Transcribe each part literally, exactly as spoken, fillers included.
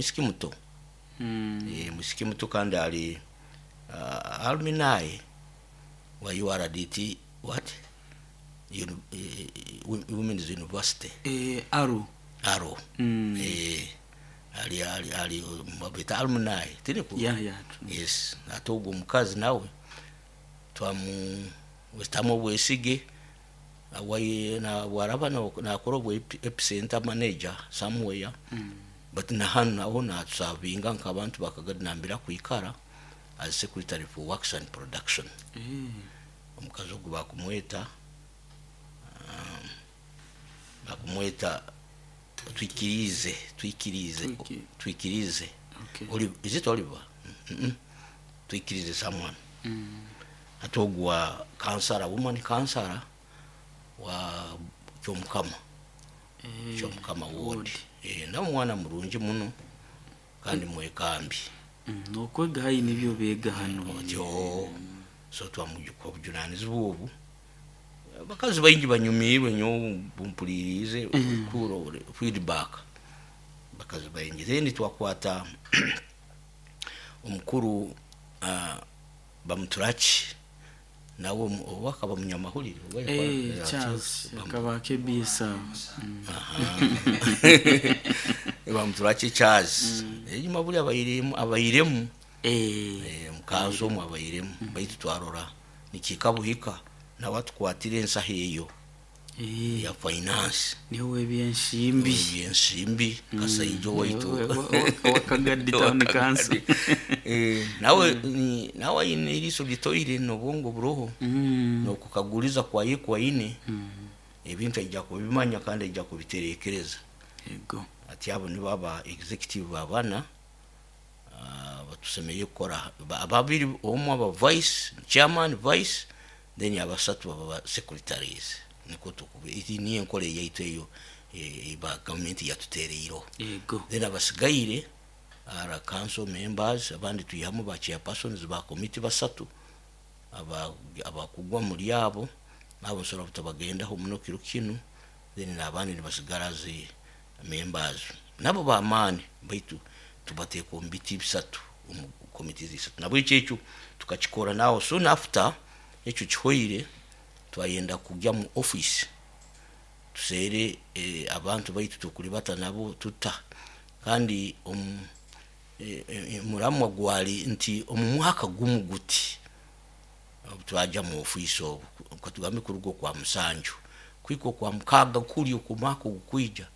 Mwisiki muto. Mm. Eh, mwisiki muto kandi ali uh, alumni wa U R D T, what, Uni, eh, Women's University. Eh, aro. Aro. Mm. eh, ali ali ali babeta alumni tiriku. yeah yeah true. Yes, ate ogwo omukazi nawe twamu wetamu obwesige awai na bwaraba na- nakora obwa epicenter manager somewhere. Mm. But na hano naho natusavinga nk'abantu bakagadi nambira kwikara as secretary for works and production. Eh. Omukazi ogwo bakumweta um, bakumweta Twikirize, Twikirize. Twiki- Twikirize. Okay. Oli- is it Oliver? mm -mm. Twikirize someone. Mm. Ate ogwo wa kansara, woman kansara wa Kyomukama. Eh, Kyomukama ward. Ward. Eh, nawe mwana murungi muno kandi mwekambi. Mm, nokwega hayi nibyo bega hano. Otyo so twamujuka obujunanizibwa obu. Abakazi baingi banyumirwe nyo bumpulirize kuro feedback, bakazi baingi. Then twakwata omukuru uh, Bamuturaki nawe omu- oba akaba munyamahulire oba Eh, yakora- Charles Bam- akaba K B S. Mm. Bamuturaki Charles enyuma buli abairemu abairemu Eh. Eh, mukanzu omwe abairemu, baitu twarora nikika buhika nawe atukwatire ensaho eyo Eh, ya finance. Niwe ebyensimbi. Ebyensimbi, kasaija owaitu. Wakagadi Town Council. Eh, nawe ni- nawe aine eriiso litoire nobwongo buroho. Mm. Nokukaguliza kwaye kwaine Mm. ebintu aija kubimanya kandi aija kubiterekereza. Yego. Ati abo nibo aba executive abana ah, batusemeye kukora. Ba- ababiri omwe aba vice chairman, vice, then abasatu baba secretaries. Niko tukube iti niyo enkola eyaitu eyo, eh, ba gavumenti yatutereireho. Yego. Then abasigaire ara council members, abandi tuyihamu ba chairpersons ba committee basatu aba- abakugwa muri abo, nabo nsobola butabagendaho muno kiro kinu. Then n'abandi nibasigara zi members, nabo bamaani, baitu tubateeka omu biti bisatu, omu committees isatu. Nabwo ekyo ekyo tukakikora. Nawo soon after ekyo kihoire, twayenda kujya mu office tuseere eh, abantu baitu tukulibata nabo tuta. Kandi omu eh, eh, muramwa gwali nti omu mwaka gumu guti obu twajja mu ofiisi, obu katugambe kuruga okwa musanju kwika okwa mukaaga kuli okumwaka ogukwija,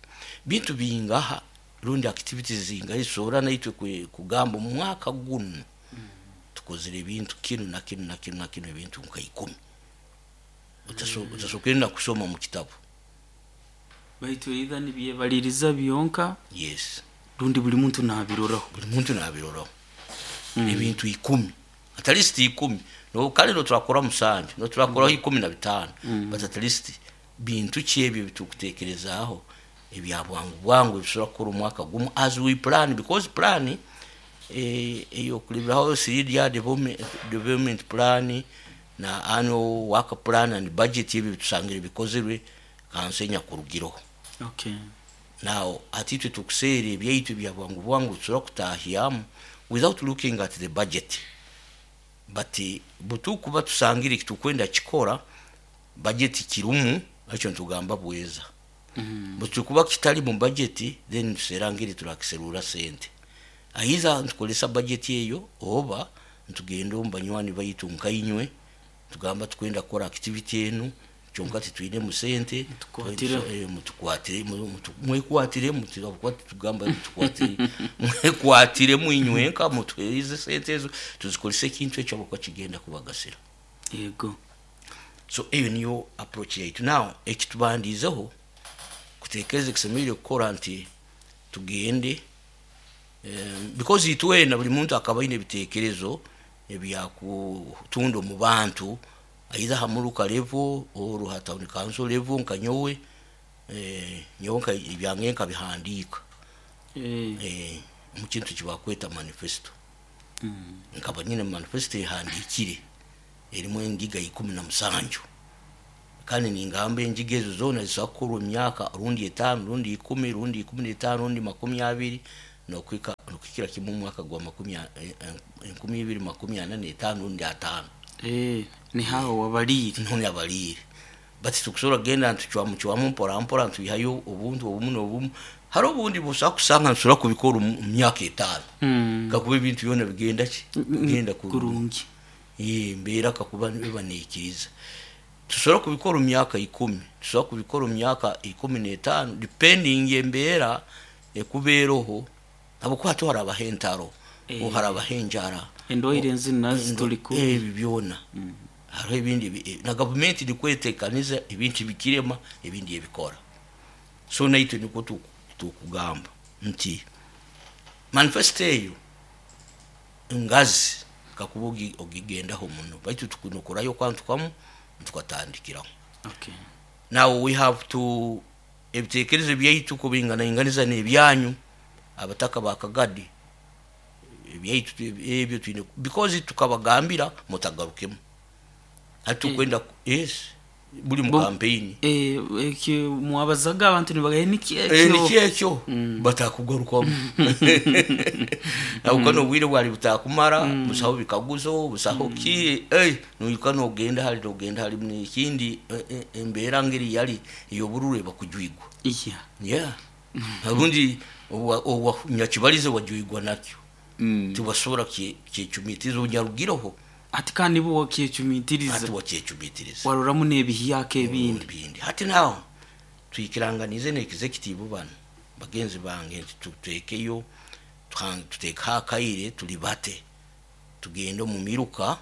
bintu bingaha rundi activities zingaha zisobora naitwe kwe- kugamba omu mwaka guno tukozere ebintu kinu na kinu na kinu na kinu, ebintu nka ikumi Utaso- utasokerenda kusoma mu kitabu. Baitu either nibyebaliriza byonka Yes. rundi buli muntu nabiroraho. Buli muntu nabiroraho. Ebintu ikumi, at least ikumi. No kale no turakora musanju, no turakoraho ikumi na bitaano, but at least bintu ki ebyo bitukutekerezaaho ebya bwangu bwangu ebisobola kukora omwaka gumu as we plan? Because plan eh, eyokulibiraho three year development, development plan na annual work plan and budget, ebyo bitusangire bikozerwe kanso enyakurugireho. Okay Now ati itwe tukuseera ebyaitu bya bwangu bwangu tusobola kutahyamu without looking at the budget, but eh, butukuba tusangire kitukwenda kikora, budget kirumu, ekyo ntugamba bweza. Mm. Bwe kitali mu budget, then tuseera ngeri turakiserura sente, either ntukolesa budget eyo oba ntugenda omu banywani baitu nkainywe, tugamba tukwenda kukora activity enu, kyonka titwinemu sente. Mutukwatire. Eh, mutukwatire, mu- mutu- mwekwatire mutu- tugamba mutukwatire, mwekwatire mwinywenka, mutuherize sente ezo tuzikolese ekintu ekyo abakuba kigenda kubagasira. Yego. So eyo niyo approach yaitu. Now ekitubandizeho kutekereza kisemereire kukora nti tugende um, because itwena buli muntu akaba aine ebitekerezo ebyakutunda omu bantu, either hamuruka level or ha town council level. Nka nyowe eh, nyowe nka ebyange nkabihandiika Eh. eh, mu kintu kibakweta manifesto. Mm. Nkaba nyine manifesto ehandikire erimu engiga ikumi na musanju, kandi ningamba engiga ezo zona zisobola kukorwa emyaka rundi etaano, rundi ikumi, rundi ikumi n'etaano, rundi makumi abiri. nokwika nokukira kimu mu mwaka gwa makumi a- eh, eh, enkumi ibiri makumi ana n'etaano rundi ataano. Eh, ni haho wabaliire. None abaliire bati tukusobola kugenda ntucwamu cwamu mpora mpora, ntwihayo obuntu obumu n'obumu. Hariho obundi busobola kusanga ntusobola kubikora omu mu myaka etaano, Mm. kakuba ebintu byona bigenda ki bigenda kurungi. Kurungi. Eh, embeera kakuba biba neikiriza, tusobola kubikora omu myaka ikumi, tusobola kubikora omu myaka ikumi n'etaano, depending embeera ekubeeroho, habwokuba hati harabaho entaro, Eh. harabaho enjara, Endwaire enzini nazo tuli ku ebi byona. Hariho ebindi bi- eh, na gavumenti nikwetekaniza ebintu bikirema, ebindi ebikora. So naitwe nikwo tu- tukugamba nti manifesto eyo ngazi kakuba ogi- ogigendaho muno, baitu tukunokurayo kantu kamu tukatandikiraho. Okay. Now we have to ebitekerezo byaitu kubinganainganiza n'ebyanyu abataka bakagadi ebyaitu ebyo twine, because tukabagambira mutagarukemu hati tukwenda, yes, buli mu Bo- campaign. Eh, ekyo mwabazaga abantu nibagaye niki Eh, ekyo? niki ekyo batakugarukamu, abuka n'obwire bwali butakumara busaho bikaguzo busaho ki, eh, noyuka nogenda hali nogenda hali nekindi, eh, eh, embeera ngeri yali eyobururu ebakujwigwa. Iya. Yeah, obundi nyakibalize wajwigwa nakyo. Mm. Tibasobola kyecumitiriza onyarugireho. Ati kandi bo wakyecumitiriza. Ati wakyecumitiriza. Waroramu n'ebihiyako ebindi. Ebindi hati naho twikiranganize ne executive bano bagenzi bange nti tutekeyo tuha- tutekeho akaire tulibate, tugende omu miruka,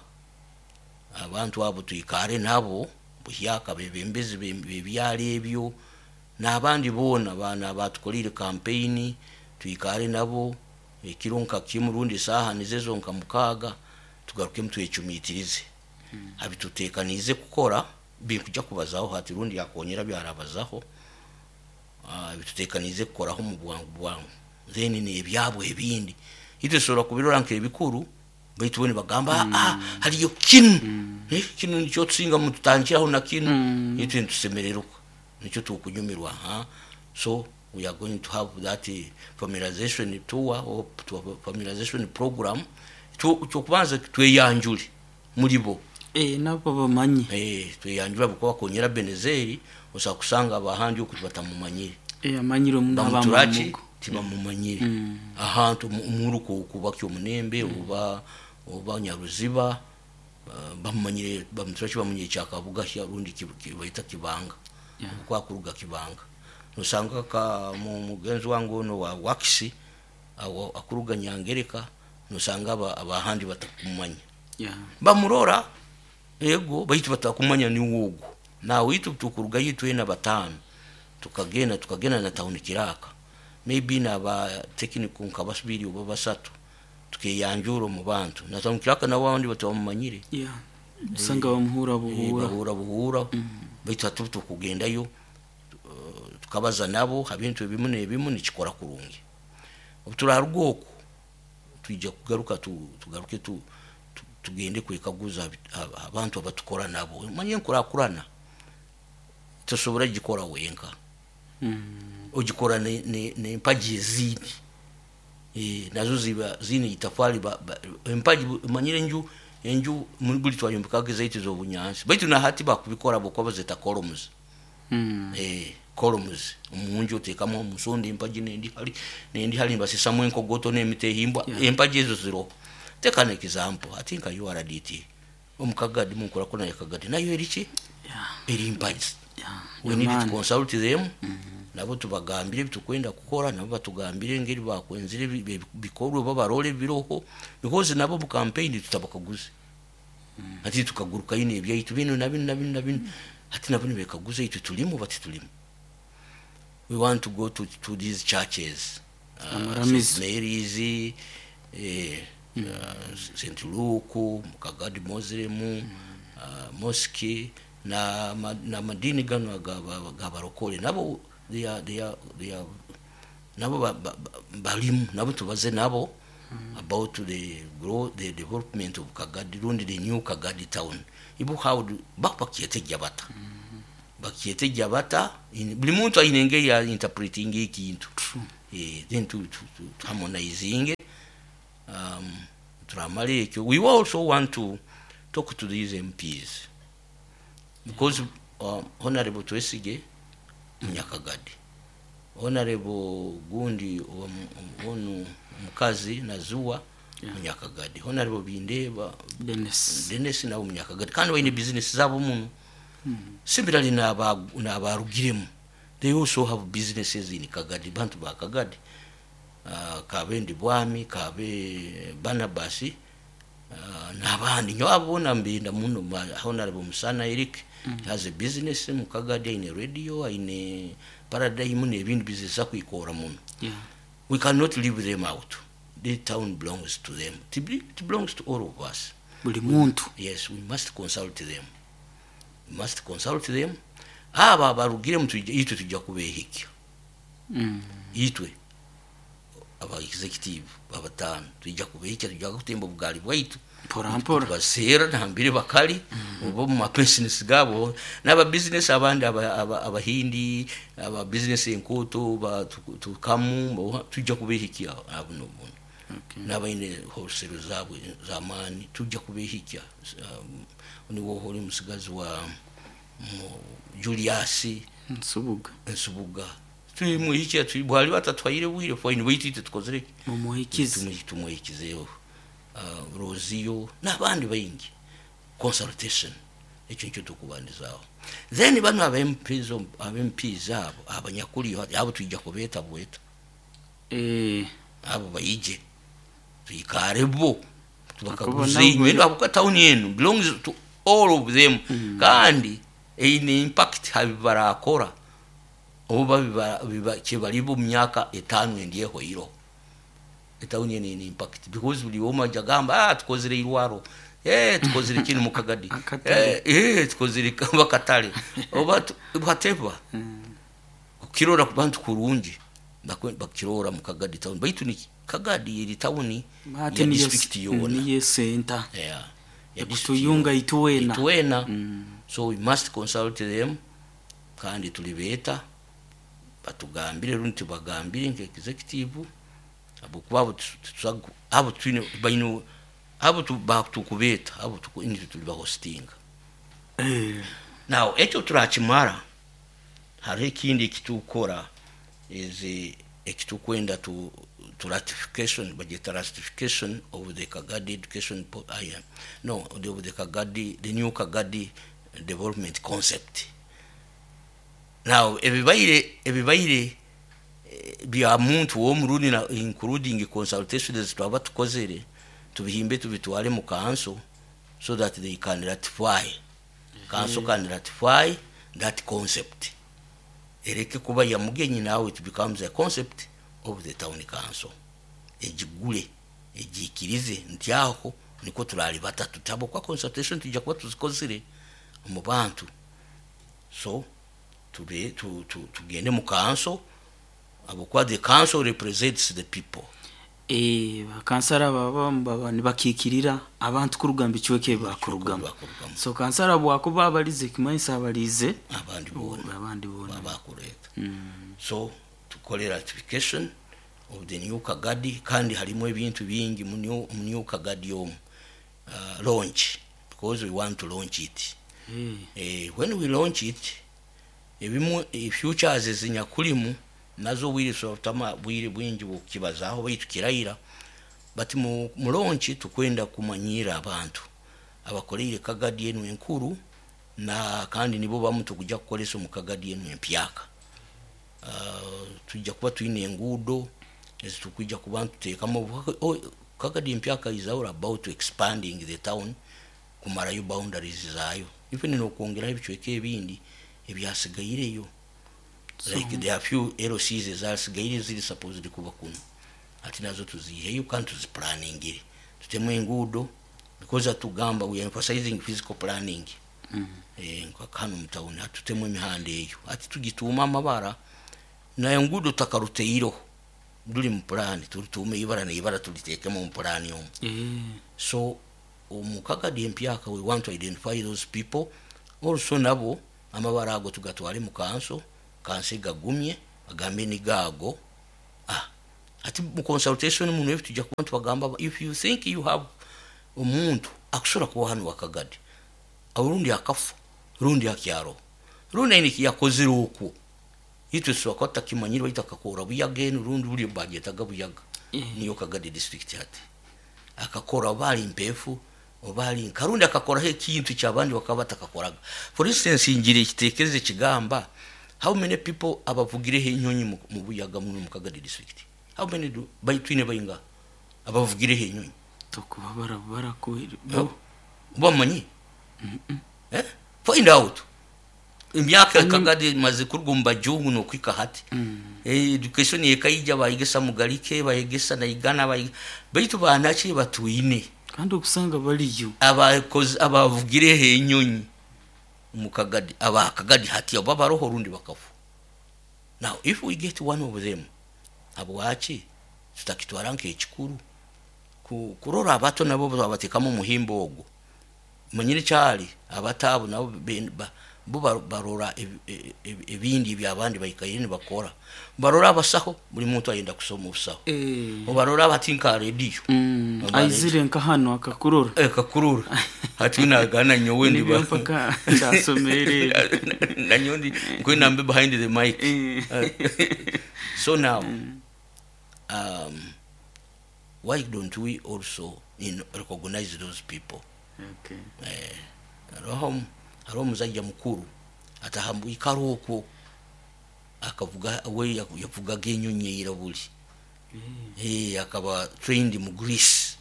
abantu abo twikare nabo buhyaka, bebembezi be- bebyalo ebyo n'abandi boona bana batukolire campaign, twikare nabo ekiro nka kimu rundi esaaha nizezo nka mukaaga, tugarukemu twecumitirize abitutekanize kukora binkuja kubazaho hati rundi yakonyera byarabazaho. Ah, bitutekanize kukoraho mu bwangu bwangu, then nebyabwe ebindi itwe tusobola kubirora nk'ebikuru, baitu bo nibagamba, ah, hariyo kinu. Eh, kinu nikyo tusinga mututandikiraho na kinu. Itwe nitusemererwa nikyo tukunyumirwa ha. So we are going to have that eh, familiarization tour or to- familiarization program. Kyokubanza tweyanjule muri bo. Eh, nabo bamanye. Eh, tweyanjula bukuba bakonyera Benezeri, osobola kusanga abahandi oku batamumanyire. Eh, amanyire omuntu. Bamuturaki. Abamugo. Tibamumanyire ahantu omuruka okubakya omunembe oba oba Nyaruziba, ah, bamumanyire bamuturaki, bamumanyire Kyakabugahya rundi ki- ki- baita Kibanga. Yeah. Kwakuruga Kibanga nosanga ka mu- mugenzi wange ono wa wakisi awo akuruga Nyangereka, nosanga aba- abahandi batakumanya. Yeah. Bamurora ego, baitu batakumanya ni wogo. Nawe itu tukuruga yitwena batano, tukagenda tukagenda na town kiraka, maybe naba technical nka basibiri oba basatu, tukeyanjura mu bantu na town kiraka nabandi batamumanyire. Yeah. Usanga bamuhura Eh, buhura. Bahura buhura, baitu hati tukugendayo, uh, tukabaza nabo habintu ebimu n'ebimu nikikora kurungi. Obu turaruga oku twija kugaruka tu, tugaruke tu, tu, tugende kwekaguza abi- ab- abantu abatukora nabo. Manye enkurakurana tosobora gikora wenka. Mm. Ogikora ne- ne- n'empagi ezindi. Eh, nazo ziba zine itafali ba- ba- empagi. Manyire enju enju mu- buli twayombekaga ezaitu ez'obunyansi, baitu nahati bakubikora bokuba bazeta columns. Mm. Eh, columns omunju otekamu omusonda empagi nendi hali nendi hali, nibasisamu enkogoto n'emiti ehimbwa. Yeah. Empagi ezo ziroho. Teka example ati nka U R D T omukagadi munkurakuna yakagadi nayo eriki? Yeah. Eri mpagi. Yeah. We need to Yamaani. consult them, nabo tubagambire ebitukwenda kukora, nabo batugambire engeri bakwenzire bi- bi- bikorwe, babarole biroho, because nabo mu campaign tutabakaguze ati tukaguruka ine ebyaitu bino na bino na bino na bino, ati nabo nibekaguza itwe tulimu bati tulimu. We want to go to, to these churches, uh, Amaramizo. Saint Mary's, eh, uh, Saint Luke Mukagadi Muslim uh, mosque na ma- na madini gano aga- gabarokole nabo they are, they are, they are, nabo ba- ba- ba- balimu, nabo tubaze nabo about the grow the development of Kagadi rundi the new Kagadi town. Ibo how do bakyetegya bata bakyetegya bata in- buli muntu ayina engeri ya interpreting ekintu. Eh, then tu, tu, tu, tu harmonizinge um, turamara ekyo. We also want to talk to these M Ps because um, Honorable Twesige Munyakagadi, Honorable gundi omu- onu omukazi Nazuwa Yeah. Munyakagadi, Honorable Bindeba Dennis. Dennis nabo Munyakagadi, kandi baine business zabo muno. Similarly n'aba- n'abarugiremu, they also have businesses in Kagadi. Bantu ba Kagadi, uh, kabe ndi bwami, kabe Barnabas, uh, n'abandi nyo abo bona mbinda muno. ba- honorable Musana Eric mm. has a business mu Kagadi, aine radio, aine Paradigm n'ebindi business akwikora muno. Yeah. We cannot leave them out. The town belongs to them. it, be- it belongs to all of us. Buli muntu. Yes, we must consult them, we must consult them. Abo abarugiremu tujja- itwe tujja kubehikya. Mm. Itwe aba executive abatano tujja kubehikya, tujja kutemba obugali bwaitu. Mpora mpora. Baseera nambire bakali oba mu mabusiness gabo n'aba business abandi, aba- aba- abahindi, aba business enkoto ba tu- tukamu bo- tujja kubehikya abo nobuno. Okay. N'abaine wholesale zabwe zamaani tujja kubehikya. um, niwo oli musigazi wa mu- Julius Nsubuga. Nsubuga, tumuhikya. Bwali batatwaire bwire, fine, baitu itwe tukozere ki? Mumuhikize. Tumuhi- tumuhikizeho uh, Roziyo n'abandi baingi. Consultation, ekyo nikyo tukubandizaaho. Then bano aba M Ps, aba M Ps abo abanyakuliyo abo twijja kubeeta bweta. Eh, abo baije tuikare bo, tubakaguze. Nabo- Inywe abo tawuni enu belongs to all of them, kandi eine impact habi barakora oba biba- biba- kyebalibo mu myaka etaano endi ehwairo. Etawuni eno ine impact because buli omu ajja gamba, "Ah, tukozere irwaro, eh, tukozere kinu mu Kagadi." Akatale. eh, eh, tukozere bakatale oba tu- whatever. Kukirora ku bantu kurungi, bakwe- bakirora mu Kagadi town, baitu ni Kagadi eri tawuni ate ya niyo district yona. Niyo center. Yeah, ya district. Ekutuyunga ituwena. Itwena. Mm. So we must consult them, kandi tulibeeta batugambire rundi tubagambire nka executive, abokuba abo tu- tusagu- abo twine baine abo tu- batukubeeta abo tuku- nitwe tuli bahostinga. Eh, Now ekyo turakimara, hariho ekindi ekitukora is ekitukwenda tu, tu ratification, bagyeta ratification of the Kagadi education po, uh, yeah, no the, of the Kagadi, the new Kagadi development concept. Now ebibaire ebibaire eh, bya muntu w'omurundi na including consultations twaba tukozere, tubihimbe tubitwale mu council so that they can ratify, council can ratify that concept, ereke kuba ya mugenyi. Now it becomes a concept of the town council, egigule egikirize nti aho niko turali batatu tabo kwa consultation tujja kuba tuzikozere mu bantu. So tube tu, tu, tugende mu council, abokuba the council represents the people. Eh, bakansara baba baba nibakikirira abantu kurugamba ekiweke bakurugamu. Bakurugamu. So kansara bwakuba abalize, kimanyisa abalize abandi bona. Abandi bona. Babakureeta. Mm. So tukole ratification of the new Kagadi, kandi harimu ebintu bingi mu new, mu new Kagadi omu, uh, launch, because we want to launch it. Eh, eh, when we launch it, ebimu eh, futures ezinyakulimu nazo bwire tama bwire bwingi bukibazaaho, baitu kirayira. But mu, mu launch tukwenda kumanyira abantu abakoleire Kagadi enu enkuru, na kandi nibo bamu tukujja kukolesa omu Kagadi enu empyaka. uh, tujja kuba twine enguudo ezitukwija kuba ntuteekamu. Oh, Kagadi empyaka is all about expanding the town, kumarayo boundaries zaayo, even nokwongeraho ebicweka ebindi ebyasigaireyo. So- like there are few L Cs ezasigaire ziri supposed kuba kuno, ati nazo tuziheyo kandi tuziplaningire, tutemu enguudo, because atugamba we are emphasizing physical planning. Mm. eh, nka hano mu town hatutemu emihanda eyo, ati tugituuma amabara nayo nguudo takaruteireho, ruri mu plan, turutuume ibara neibara tulitekemu mu plan omu. Eh, so omu Kagadi empyaka we want to identify those people also, nabo amabara ago tugatwale mu kanso, kanso egagumye agambe ni gaago. Ah, ati mu consultation muno ebi tujja kuba tubagamba, if you think you have omuntu akusobola kuba hano wakagadi, awo rundi akafa, rundi akyaro, rundi aine ekiyakozire okwo, itwe tusobola kuba tutakimanyire, baitu akakora Buyaga enu, rundi buli bagyetaga Buyaga. Eh. Niyo Kagadi district hati. Akakora oba ali mpefu oba ali nkarundi, akakoraho ekintu kyabandi bakaba batakakoraga. For instance, ngira ekitekerezo ekigamba, how many people abavugireho enyonyi mu mu Buyaga muno mu Kagadi district? How many do baitwine bainga abavugireho enyonyi? Tokuba bara barakuhire. Bamanyi, eh? Find out emyaka Kagadi maze kuruga omu bajungu nokwika hati. Eh, education yekaija, bayegesa Mugalike, bayegesa Naigana, bayige- baitu banaki batwine Kandi okusanga baliyo. Abakozi abavugireho enyonyi mu Kagadi, abakagadi hati abo baroho rundi bakafu. Now if we get one of them, habwaki tutakitwara nk'ekikuru Ku- kurora abato nabo babatekamu omuhimbo ogwo? Manyire kyali abato abo nabo be- ba- bo ba- barora ebi- ebi- ebindi ebyabandi baikaire nibakora. Barora abasaho, buli muntu ayenda kusoma obusaho. Eh. Obarora bati nka rediyo. Mm, aizire nka hano akakurora. Kakurura hati nagana nyowe Nibyo ndiba mpaka ndasomere. Nanyowe ndi nkwenda mbe behind the mic. Eh. So now, um, why don't we also you know, recognize those people? Okay. Eh, hariho hariho omusajja mukuru atahambwikara okwo, akavuga we yavugaga enyonyi eira buli. Eh, akaba trained mu Greece,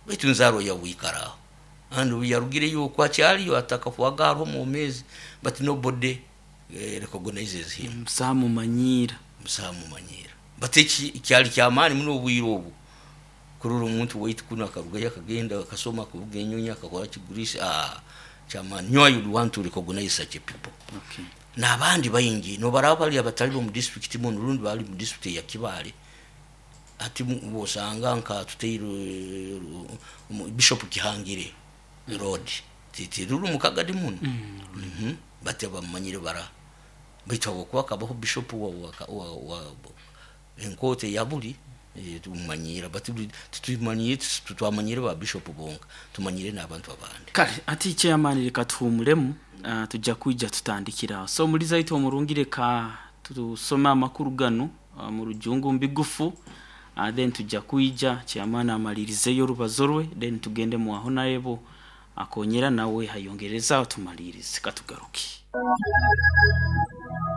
baitu nzaro yabwikara aho, and yarugireyo okwo akyaliyo atakafuaga hariho omwomezi, but nobody eh, recognizes him. Musamumanyira. Musamumanyira, but eki kyali kyamaani muno obwire obwo kurora omuntu waitu kuno akarugayo akagenda akasoma akavuga enyonyi akakora ki Greece. Ah, kyamaani nyo. I would want to recognize such a people. Okay. N'abandi baingi nobaraba bali abatali bo mu district muno, rundi bali mu district ya Kibaale. Ati mu- bwosanga nka tuteire Bishop Kihangire Road, titi ruri mu Kagadi muno. Mhm. Bati abamanyire bara, baitu habwokuba akabaho bishop wa, wa, wa, wa enkote ya buli, eh, tumanyira, but tutumanyire, tutwamanyire ba bishop bonka, tumanyire n'abantu abandi. Kale ati chairman, reka tuhumuremu, uh, tujja kwijja tutandikira. So muliza itu omurungi, reka tusome amakuru gano uh, mu rujungu mbigufu, uh, then tujja kwijja chairman amalirizeyo orubazo rwe, then tugende mu aho nayebo akonyera nawe hayongereza tumalirize katugaruke.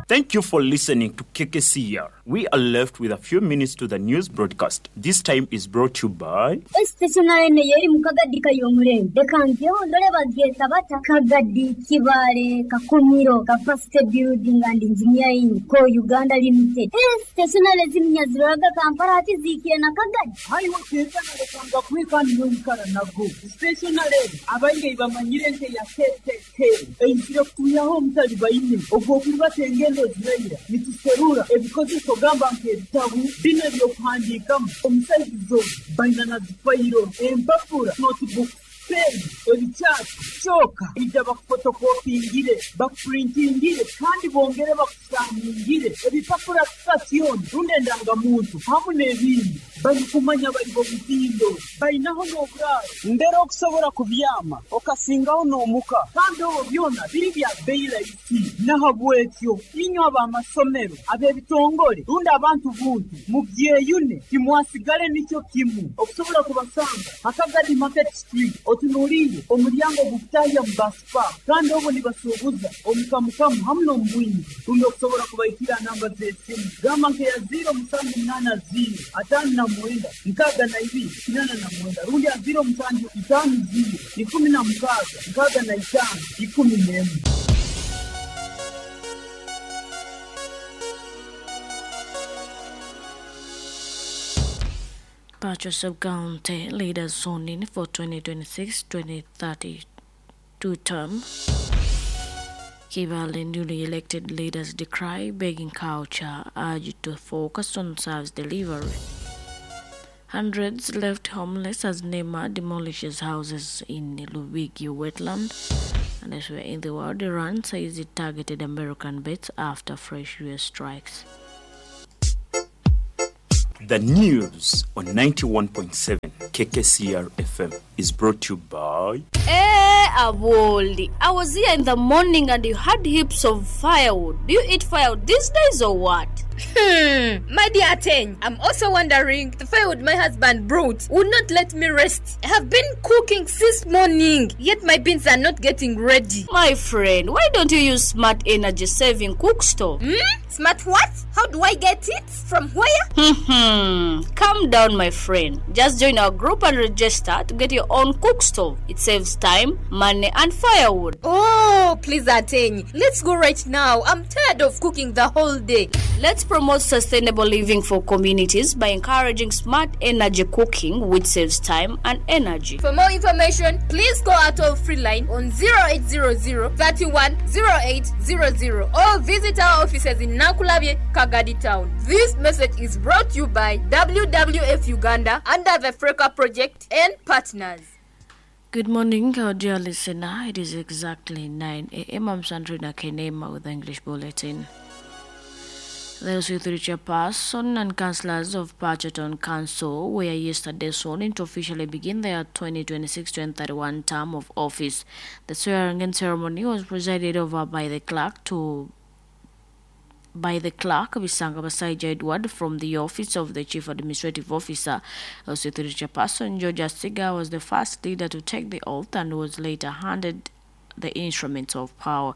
Thank you for listening to K K C R. We are left with a few minutes to the news broadcast. This time is brought to you by Stationary eri mu Kagadi kayomurembe, reka ngeho ndore bagyeta bata Kagadi Kibale Kakumiro Capacity Building and Engineering Co Uganda Limited. Eh, stationary ziminya ziroraga Kampala, hati ziikire na Kagadi. Haiwe kwekana lekanga kwekani noikara nago stationary abaingi bamanyire nke ya K K K eizire kutuyaho omutali baine ogwo okulibatenga engendo ziraira nituserura ebikozeso gamba nk'ebitabu bino ebyokuhandiikamu omusaizi zo baina na zifayiro, empapura, notebook, pen, ebikyati kyoka ija bakufotokopingire, bakupurintingire kandi bongere bakusaningire ebipapura sitasioni rundi endangamuntu hamu n'ebindi. Balikumanya bali bomutindo balinaho n'oburaaro mbere okusobola kubyama okasingaho n'omuka, kandi obwo byona biri bya bbeyi rahisi. Nahabwekyo inywe ab'amasomero, ab'ebitongole rundi abantu buntu mubyeyune, timwasigale nikyo kimu. Okusobola kubasanga Hakagadi Market Street, otunuliire omulyango gukutahya mu basipa, kandi obwo nibasuubuza omukamukamu hamu n'omubwingi. Rundi okusobola kubaikira namba z'esimu gamba nkeya ziro musanju munaana ziro ataano na mwenda nkaaga na ibiri kinaana na mwenda, rundi ya ziro musanju itaano ziro ikumi na mukaaga nkaaga na itaano ikumi n'emu. Pacho Sub-County leaders sworn in for twenty twenty-six twenty thirty-two term. Kibale newly elected leaders decry begging culture, urged to focus on service delivery. Hundreds left homeless as NEMA demolishes houses in Lubigi wetland. And elsewhere in the world, Iran says it targeted American base after fresh U S strikes. The news on ninety-one point seven K K C R F M is brought to you by... Hey, Aboli, I was here in the morning and you had heaps of firewood. Do you eat firewood these days or what? Hmm, my dear Ateng, I'm also wondering, the firewood my husband brought would not let me rest. I have been cooking since morning, yet my beans are not getting ready. My friend, why don't you use smart energy saving cook stove? Hmm? Smart what? How do I get it? From where? Hmm. Calm down, my friend. Just join our group and register to get your own cook stove. It saves time, money, and firewood. Oh, please, Ateng. Let's go right now. I'm tired of cooking the whole day. Let's promote sustainable living for communities by encouraging smart energy cooking, which saves time and energy. For more information, please call our toll-free line on zero eight zero zero, thirty-one, zero eight zero zero or visit our offices in Nankulabye, Kagadi Town. This message is brought to you by W W F Uganda under the Freka Project and partners. Good morning, our dear listener. It is exactly nine a.m. I'm Sandrina Kenema with the English Bulletin. The L C three chairperson and councillors of Pacho Town Council were yesterday sworn in to officially begin their twenty twenty-six twenty thirty-one term of office. The swearing-in ceremony was presided over by the clerk to by the clerk, Bisanga Basaija Edward, from the office of the Chief Administrative Officer. L C three chairperson George Asiga was the first leader to take the oath and was later handed the instruments of power.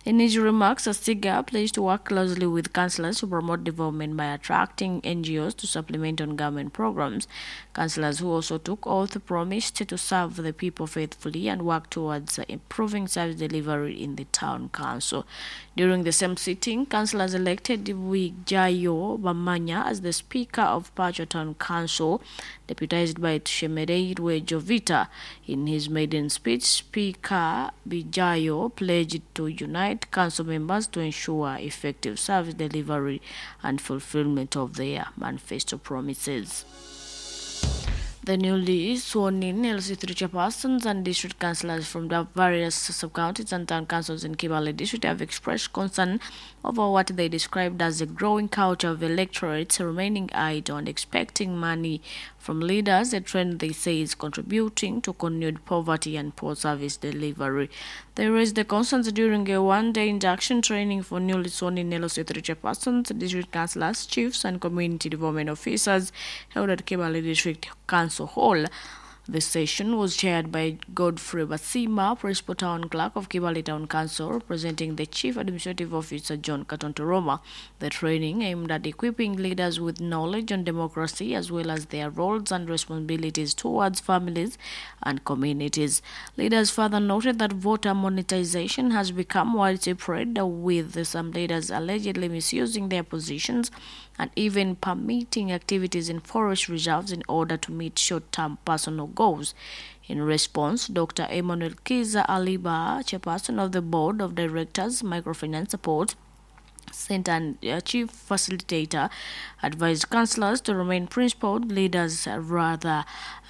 In his remarks, Asiga pledged to work closely with councillors to promote development by attracting N G Os to supplement on government programs. Councillors who also took oath promised to serve the people faithfully and work towards improving service delivery in the town council. During the same sitting, councillors elected Wijayo Bamanya as the Speaker of Pacho Town Council, deputized by Tshemereirwe Jovita. In his maiden speech, Speaker Bijayo pledged to unite council members to ensure effective service delivery and fulfillment of their manifesto promises. The newly sworn-in L C three chairpersons and district councillors from the various sub-counties and town councils in Kibaale district have expressed concern over what they described as a growing culture of electorates remaining idle and expecting money from leaders, a trend they say is contributing to continued poverty and poor service delivery. They raised the concerns during a one-day induction training for newly sworn-in L C three chairpersons, district councillors, chiefs and community development officers held at Kibaale District Council Hall. The session was chaired by Godfrey Basima, Principal Town Clerk of Kibaale Town Council, representing the Chief Administrative Officer John Katontoroma. The training aimed at equipping leaders with knowledge on democracy as well as their roles and responsibilities towards families and communities. Leaders further noted that voter monetization has become widespread, with some leaders allegedly misusing their positions and even permitting activities in forest reserves in order to meet short-term personal goals. In response, Doctor Emmanuel Kiza Aliba, chairperson of the Board of Directors, Microfinance Support Center and uh, Chief Facilitator, advised councillors to remain principled leaders rather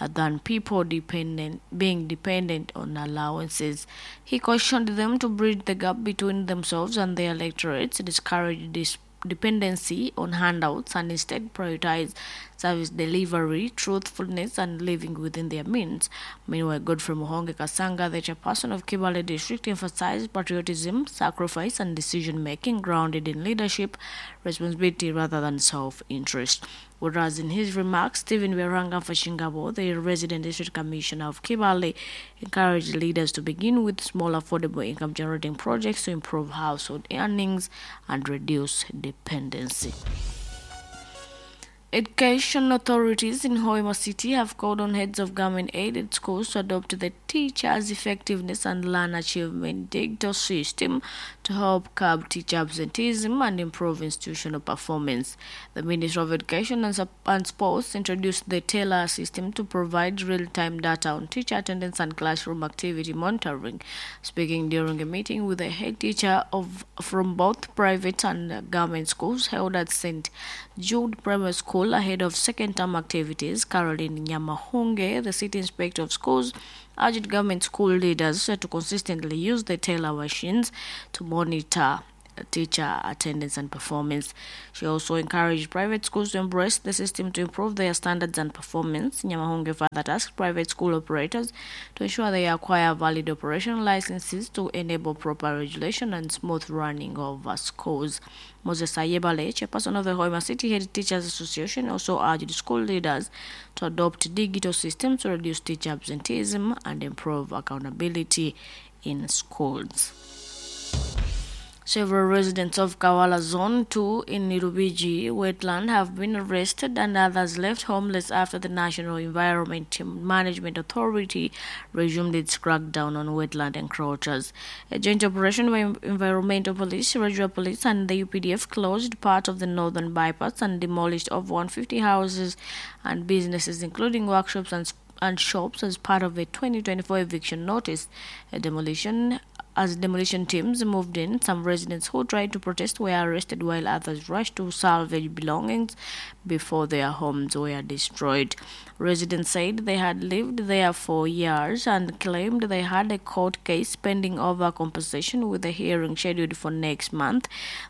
than people dependent, being dependent on allowances. He cautioned them to bridge the gap between themselves and their electorates, discourage dis- dependency on handouts, and instead prioritize service delivery, truthfulness, and living within their means. Meanwhile, Godfrey Muhonge Kasanga, the chairperson of Kibaale District, emphasized patriotism, sacrifice, and decision-making grounded in leadership, responsibility rather than self-interest. Whereas in his remarks, Stephen Weranga Fashingabo, the resident district commissioner of Kibaale, encouraged leaders to begin with small affordable income-generating projects to improve household earnings and reduce dependency. Education authorities in Hoima City have called on heads of government-aided schools to adopt the Teachers Effectiveness and Learner Achievement digital system to help curb teacher absenteeism and improve institutional performance. The Ministry of Education and, and Sports introduced the TELA system to provide real-time data on teacher attendance and classroom activity monitoring. Speaking during a meeting with the head teacher of from both private and government schools held at Saint Jude Primary School ahead of second term activities, Caroline Nyamahunge, the city inspector of schools, urged government school leaders to consistently use the TELA machines to monitor teacher attendance and performance. She also encouraged private schools to embrace the system to improve their standards and performance. Nyamahunge further tasked private school operators to ensure they acquire valid operational licenses to enable proper regulation and smooth running of uh, schools. Moses Ayebale, chairperson of the Hoima City Head Teachers Association, also urged school leaders to adopt digital systems to reduce teacher absenteeism and improve accountability in schools. Several residents of Kawala Zone two in Nirubiji wetland have been arrested and others left homeless after the National Environment Management Authority resumed its crackdown on wetland encroachers. A joint operation by Environmental Police, Regional Police and the U P D F closed part of the northern bypass and demolished over one hundred fifty houses and businesses, including workshops and and shops, as part of a twenty twenty-four eviction notice. A demolition As demolition teams moved in, some residents who tried to protest were arrested while others rushed to salvage belongings before their homes were destroyed. Residents said they had lived there for years and claimed they had a court case pending over compensation, with a hearing scheduled for next month.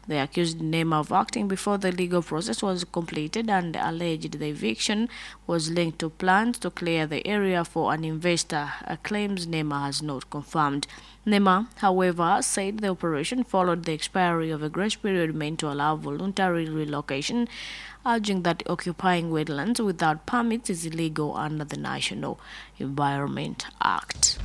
They accused NEMA of acting before the legal process was completed and alleged the eviction was linked to plans to clear the area for an investor, claims NEMA has not confirmed. NEMA, however, said the operation followed the expiry of a grace period meant to allow voluntary relocation, urging that occupying wetlands without permits is illegal under the National Environment Act.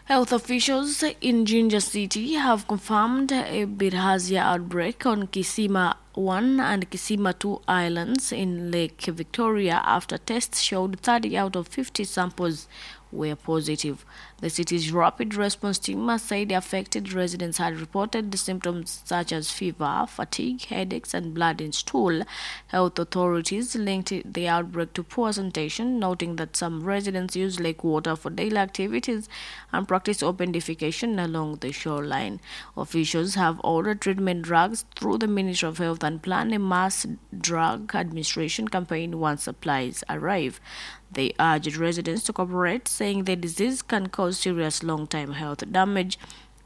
Health officials in Jinja City have confirmed a bilharzia outbreak on Kisima one and Kisima two islands in Lake Victoria after tests showed thirty out of fifty samples were positive. The city's rapid response team said the affected residents had reported the symptoms such as fever, fatigue, headaches, and blood in stool. Health authorities linked the outbreak to poor sanitation, noting that some residents use lake water for daily activities and practice open defecation along the shoreline. Officials have ordered treatment drugs through the Ministry of Health and plan a mass drug administration campaign once supplies arrive. They urged residents to cooperate, saying the disease can cause serious long-term health damage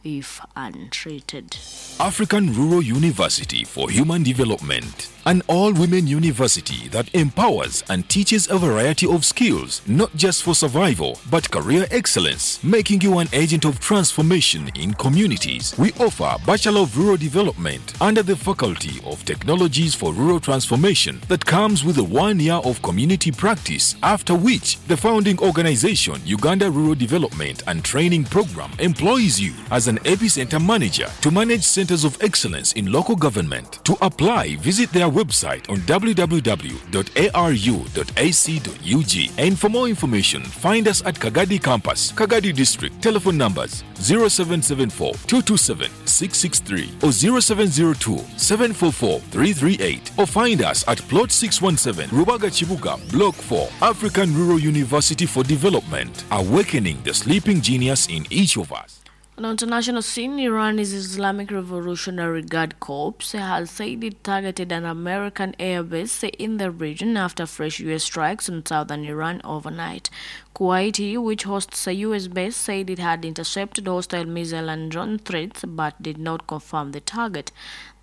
if untreated. African Rural University for Human Development, an all-women university that empowers and teaches a variety of skills, not just for survival, but career excellence, making you an agent of transformation in communities. We offer Bachelor of Rural Development under the Faculty of Technologies for Rural Transformation that comes with a one year of community practice, after which the founding organization, Uganda Rural Development and Training Program, employs you as an epicenter manager to manage centers of excellence in local government. To apply, visit their website on w w w dot a r u dot a c dot u g. And for more information, find us at Kagadi Campus, Kagadi District. Telephone numbers zero seven seven four, two two seven, six six three or zero seven zero two, seven four four, three three eight, or find us at Plot six one seven, Rubaga Chibuga, Block four, African Rural University for Development, awakening the sleeping genius in each of us. On the international scene, Iran's Islamic Revolutionary Guard Corps has said it targeted an American airbase in the region after fresh U S strikes on southern Iran overnight. Kuwait, which hosts a U S base, said it had intercepted hostile missile and drone threats but did not confirm the target.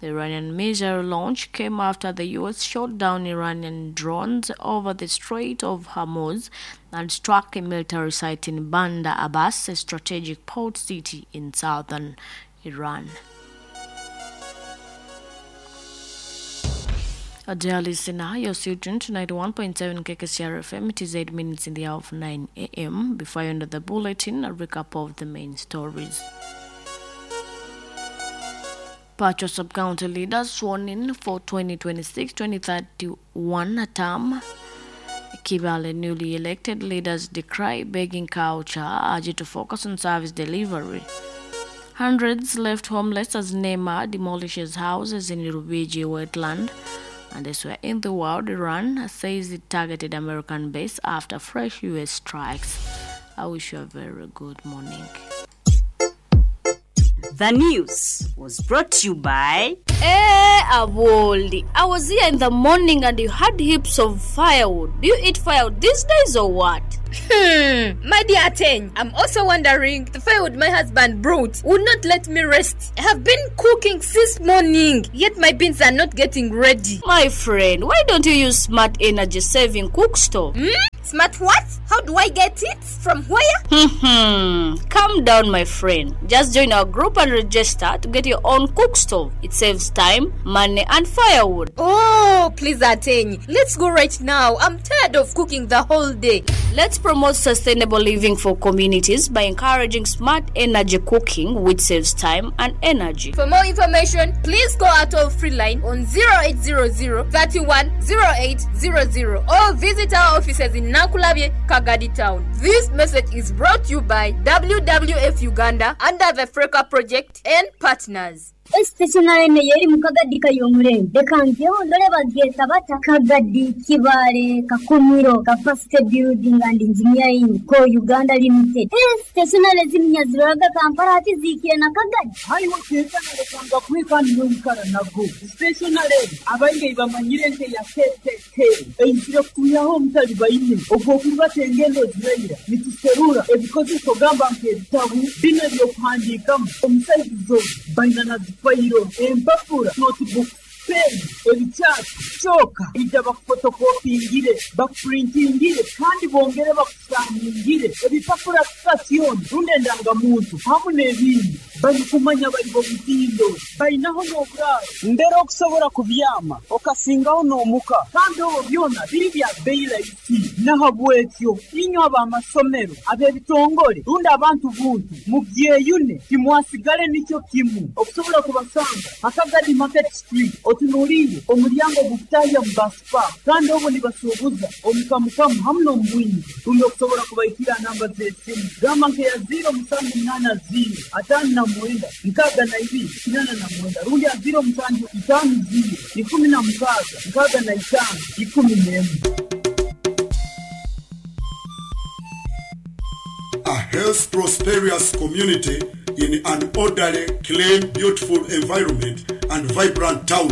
The Iranian missile launch came after the U S shot down Iranian drones over the Strait of Hormuz and struck a military site in Bandar Abbas, a strategic port city in southern Iran. Dear listener, you're still tuned to ninety-one point seven K K C R F M. It is eight minutes in the hour of nine A M. Before I end the bulletin, a recap of the main stories. Pacho sub-county leaders sworn in for twenty twenty-six twenty thirty-one term. Kibale newly elected leaders decry begging culture, urge to focus on service delivery. Hundreds left homeless as NEMA demolishes houses in Rubiji wetland. And elsewhere in the world, Iran says it targeted American base after fresh U S strikes. I wish you a very good morning. The news was brought to you by Eh, Aboli. I was here in the morning and you had heaps of firewood. Do you eat firewood these days or what? Hmm, my dear Ateng, I'm also wondering the firewood my husband brought would not let me rest. I have been cooking since morning, yet my beans are not getting ready. My friend, why don't you use smart energy saving cook stove? Hmm? Smart what? How do I get it? From where? Hmm. Calm down, my friend. Just join our group and register to get your own cook stove. It saves time, money, and firewood. Oh, please, Ateng. Let's go right now. I'm tired of cooking the whole day. Let's promote sustainable living for communities by encouraging smart energy cooking, which saves time and energy. For more information, please call our toll free line on zero eight zero zero thirty-one zero eight zero zero or visit our offices in Nakulabye, Kagadi Town. This message is brought to you by W W F Uganda under the Freca Project and partners. Stationary ene yeri mu Kagadi kay'omurembe. Reka ngeho ndore bagyeta bata Kagadi, Kibaale, Kakumiro, Capacity Building and Engineering Co Uganda Limited. Eh, stationary ziminya ziroraga Kampala ati ziikire na Kagadi. Haiwe kenkana lekanga kwekani n'oyikara nago. Stationary abaingi bamanyire nke ya K K K eizire kutuyaho omutali baine ogw'okurubata engendo ziraira nituserura ebikozeso gamba nk'ebitabu bino ebyokuhandiikamu omusaizi zo baina na zifayiro empapura notebook pen ebikyasi kyoka ija bakufotokopingire bakupurintingire kandi bongere bakusaningire ebipapura sitasioni rundi endangamuntu hamu n'ebindi barikumanya bari bomutindo bainaho n'oburaaro mbere okusobora kubyama okasingaho n'omuka kandi obwo byona biri bya bei rahisi. Nahabwekyo inywe ab'amasomero ab'ebitongole rundi abantu buntu mubyeyune timwasigale nikyo kimu okusobola kubasanga Akagadi Market Street otunuliire omulyango gukutahya mu basipa kandi obwo nibasuubuza omukamukamu hamu n'omubwingi rundi okusobola kubaikira namba z'esimu gamba nkeya ziro musanju munaana ziro ataano na mwenda nkaaga na ibiri kinana na mwenda rundi ya ziro musanju itaano ziro ikumi na mukaaga nkaaga na itaano ikumi n'emu. A health prosperous community in an orderly, clean, beautiful environment and vibrant town.